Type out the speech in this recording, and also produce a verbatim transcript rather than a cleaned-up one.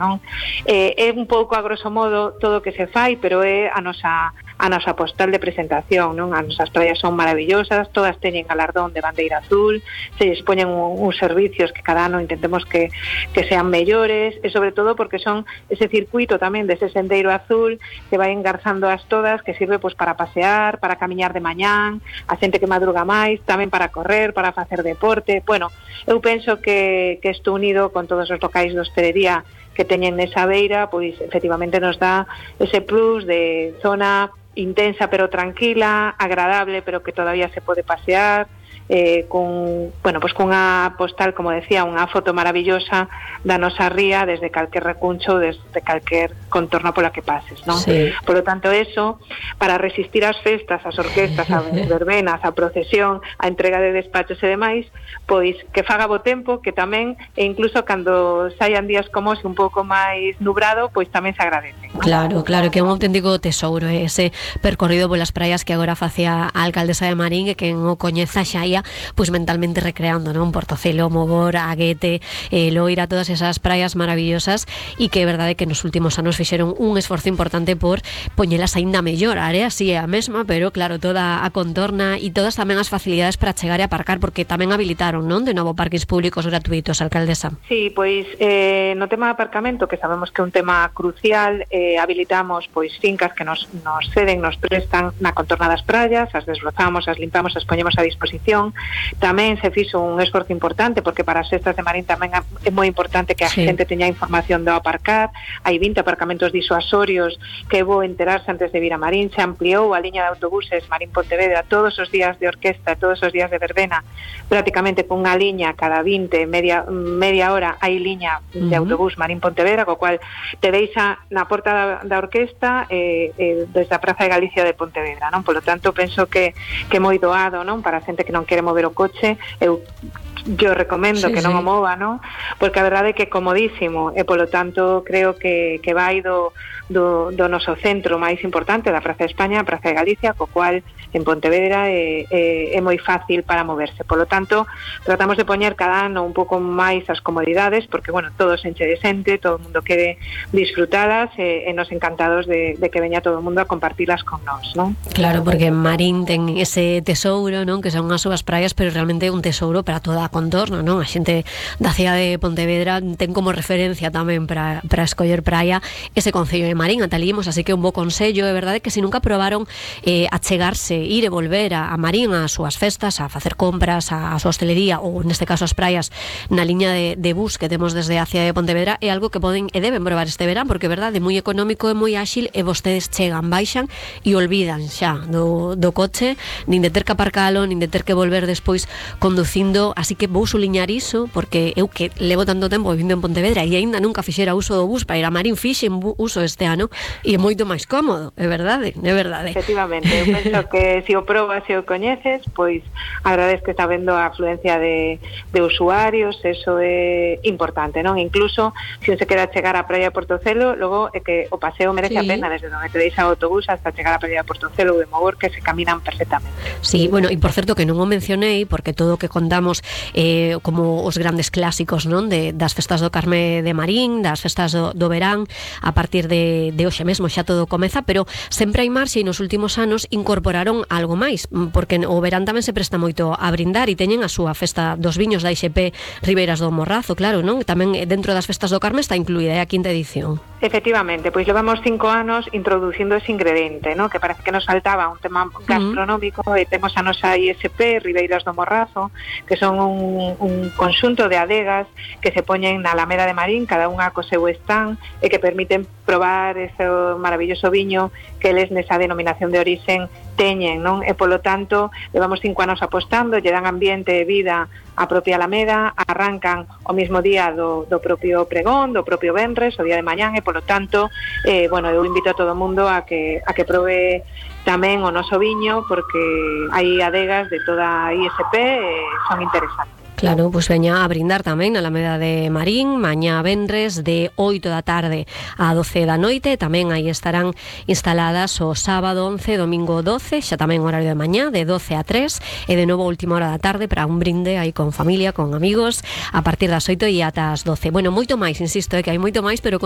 non? Eh, é un pouco a grosso modo todo o que se fai, pero é a nosa a nosa postal de presentación, non? As nosas praias son maravillosas, todas teñen galardón de bandeira azul, se dispoñen un, uns servicios que cada ano intentemos que, que sean mellores, e sobre todo porque son ese circuito tamén dese sendeiro azul que vai engarzando as todas, que sirve pois para pasear, para camiñar de mañán, a xente que madruga máis, tamén para correr, para facer deporte. Bueno, eu penso que, que isto unido con todos os locais de hostelería que teñen nesa beira, pois efectivamente nos dá ese plus de zona intensa pero tranquila, agradable pero que todavía se pode pasear, eh, con, bueno, pues con unha postal, como decía, unha foto maravillosa da nosa ría desde calquer recuncho, desde calquer contorno pola que pases, non? Sí. Por lo tanto, eso, para resistir ás festas, ás orquestas, ás verbenas, a procesión, a entrega de despachos e demais, pois que faga bo tempo, que tamén, e incluso cando saian días como ese un pouco máis nubrado, pois tamén se agradece, non? Claro, claro, que é un auténtico tesouro, eh, ese percorrido polas praias que agora facía a alcaldesa de Marín, e que o coñeza xa ia pois mentalmente recreando, non? Portocelo, Mogor, Aguete, eh, Loira, todas esas praias maravillosas, e que é verdade que nos últimos anos fixeron un esforzo importante por poñelas aínda mellor. A área si é a mesma, pero claro, toda a contorna e todas tamén as facilidades para chegar e aparcar, porque tamén habilitaron, non? De novo parques públicos gratuitos, alcaldesa. Sí, pois eh, no tema de aparcamento, que sabemos que é un tema crucial, eh, habilitamos pois fincas que nos, nos ceden, nos prestan na contorna das praias, as desbrozamos, as limpamos, as poñemos a disposición. Tamén se fixo un esforzo importante, porque para as festas de Marín tamén é moi importante que a sí. xente teña información do aparcar. Hai vinte aparcamentos disuasorios que é bo enterarse antes de vir a Marín. Se ampliou a liña de autobuses Marín-Pontevedra todos os días de orquesta, todos os días de verbena, prácticamente con unha liña cada vinte, media, media hora hai liña de autobús Marín-Pontevedra, co cual te deixa na porta da, da orquesta eh, eh, desde a Praza de Galicia de Pontevedra, non? Por lo tanto, penso que que é moi doado, non? Para a xente que non quere mover o coche, eu yo recomendo sí, que non sí. o mova, non? Porque a verdade é que é comodísimo, e polo tanto creo que, que vai do, do, do noso centro máis importante, da Praza de España, a Praza de Galicia, co cual en Pontevedra é, é, é moi fácil para moverse. Polo tanto, tratamos de poñer cada ano un pouco máis as comodidades, porque, bueno, todo se enche de xente, todo o mundo quere disfrutalas, e, e nos encantados de, de que veña todo o mundo a compartilas con nós, non? Claro, porque Marín ten ese tesouro, non? Que son as súas praias, pero realmente é un tesouro para toda a contorno, non? A xente da cidade de Pontevedra ten como referencia tamén para, para escoller praia ese concello de Marín, atalimos, así que un bo consello, é verdade que se nunca probaron eh, a chegarse, ir e volver a, a Marín ás súas festas, a facer compras, a, a súa hostelería, ou neste caso as praias na liña de, de bus que temos desde a cidade de Pontevedra, é algo que poden e deben probar este verán, porque é verdade, é moi económico, é moi áxil, e vostedes chegan, baixan e olvidan xa do, do coche, nin de ter que aparcalo, nin de ter que volver despois conducindo, así que vou suliñar iso, porque eu que levo tanto tempo vivindo en Pontevedra e aínda nunca fixera uso do bus para ir a Marín, fixen uso este ano e é moito máis cómodo, é verdade, é verdade. Efectivamente, eu penso que se o probas e o coñeces, pois agradez que está vendo a afluencia de, de usuarios, eso é importante, non? Incluso, se un se queda chegar á praia de Portocelo, logo é que o paseo merece sí. a pena desde onde te deixa o autobús hasta chegar á praia de Portocelo ou de Mogor, que se caminan perfectamente. Sí, bueno, e por certo que non o mencionei, porque todo o que contamos eh, como os grandes clásicos, non? De, das festas do Carme de Marín, das festas do, do verán, a partir de, de hoxe mesmo xa todo comeza, pero sempre hai marxe, e nos últimos anos incorporaron algo máis, porque o verán tamén se presta moito a brindar, e teñen a súa festa dos viños da I X P Ribeiras do Morrazo, claro, non? Tamén dentro das festas do Carme está incluída a quinta edición. Efectivamente, pois levamos cinco anos introducindo ese ingrediente, non? Que parece que nos faltaba un tema gastronómico, uh-huh. e temos a nosa I S P Ribeiras do Morrazo, que son un, un conxunto de adegas que se poñen na Alameda de Marín, cada unha co seu stand, e que permiten probar ese maravilloso viño que eles nesa denominación de orixen teñen, non? E polo tanto, levamos cinco anos apostando, lle dan ambiente e vida a propia Alameda, arrancan o mismo día do, do propio pregón, do propio venres, o día de mañán, e polo tanto, eh, bueno, eu invito a todo o mundo a que, a que probe tamén o noso viño, porque hai adegas de toda a I S P e son interesantes. Claro, pois pues veña a brindar tamén na Alameda de Marín, mañá venres de oito da tarde a doce da noite, tamén aí estarán instaladas o sábado once, domingo doce, xa tamén horario de mañá, de doce a tres, e de novo última hora da tarde para un brinde aí con familia, con amigos, a partir das oito e ata as doce. Bueno, moito máis, insisto, é que hai moito máis, pero con